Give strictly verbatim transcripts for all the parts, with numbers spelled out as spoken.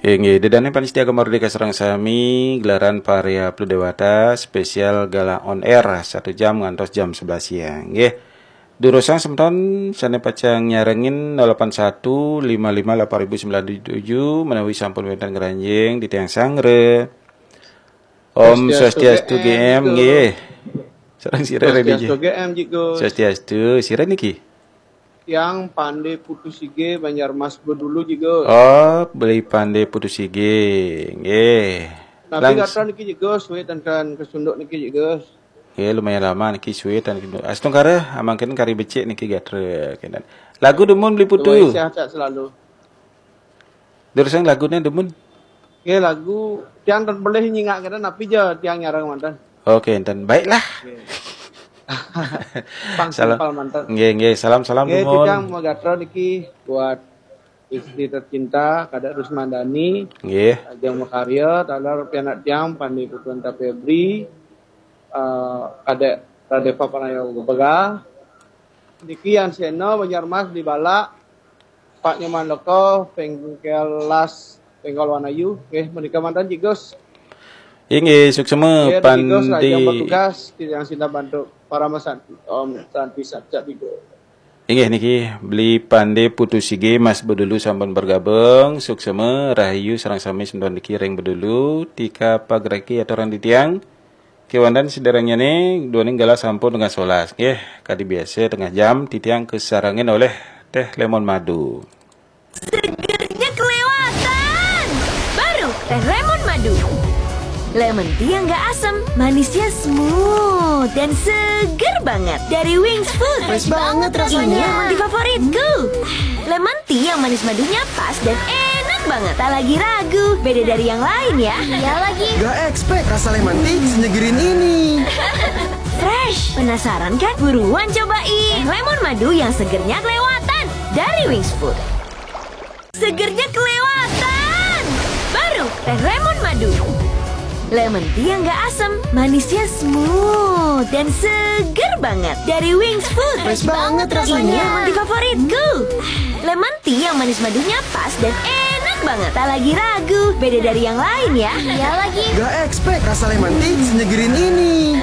Inggih, ida dané pamiarsa Gema Merdeka sareng sami, gelaran Paria Plu Dewata spesial gala on air satu jam ngantos jam sebelas siang. Nggih. Durusang semeton sané pacang nyarengin nol delapan satu lima lima delapan ribu sembilan tujuh menawi sampun wénten ngranjing titiang sanggra. Om Swastiastu, Swastiastu, G M, G M, nggih. Sareng sira, Reni, Swastiastu, G M, Ji Gus. Swastiastu, sira niki? Tiang Pandé Putu Sige, Banjarmas Bedulu, Ji Gus. Oh, Beli Pandé Putu Sige, nggih. Napi gatra niki, Ji Gus, sué tan kasunduk niki, Ji Gus. Nggih, lumayan lama niki sué tan kasunduk. Astungkara, amangkin kari becik niki gatra, kénten. Lagu dumun, Beli Putu. Sehat-sehat selalu. Durusang laguné dumun. Nggih, lagu tiang ten pelih nyingak kénten, napi ja tiang nyareng manten. Oké, énten. Baiklah. Nggih. Pang salam. Simpel manten. Nggih, nggih, salam-salam dumun. Nggih, tiang magatra niki buat istri tercinta, Kadek Rusmandani. Nggih. Ajeng makarya, taler pianak tiang, Pandé Putu Anta Febri, eh, Kadek Radeva Pranaya Gubega. Niki Yan Sena, Banjarmas, di Balak, Pak Nyoman Leko, Bengkel Las, Bengkel Wanayu. Nggih, menika manten, Ji Gus. Inggih, suksema. Nggih, Ji Gus, Pandé. Rahayu bertugas, tiang sinah bantu para mesanti. Om Santi Satya Tiga. Inggih niki, Beli Pandé Putu Sige, Mas Bedulu sampun bergabung, suksema, rahayu sareng sami semeton niki ring Bedulu, tika pagreki aturang titiang. Kéwanten sadéréngné, duaning galah sampun tengah solas. Nggih, kadi biasa tengah jam, titiang kasarengin olih Teh Lemon Madu. Segernya kelewatan. Baru Teh Lemon Madu. Lemon tea yang nggak asem, manisnya smooth dan seger banget. Dari Wings Food. Fresh banget rasanya. Ini lemon tea favoritku. Lemon tea yang manis madunya pas dan enak banget. Tak lagi ragu, beda dari yang lain ya. Iya lagi. Gak expect rasa lemon tea senyegerin ini. Fresh, penasaran kan? Buruan cobain. Lemon madu yang segernya kelewatan dari Wings Food. Segernya kelewatan. Baru Teh Lemon Madu. Lemon tea yang nggak asem, manisnya smooth dan seger banget. Dari Wings Food. Fresh banget rasanya. Ini lemon tea favoritku. Lemon tea yang manis madunya pas dan enak banget. Tak lagi ragu, beda dari yang lain ya. Iya lagi. Gak expect rasa lemon tea senyegerin ini.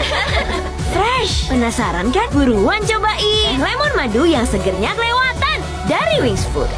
Fresh, penasaran kan? Buruan cobain. Lemon madu yang segernya kelewatan dari Wings Food.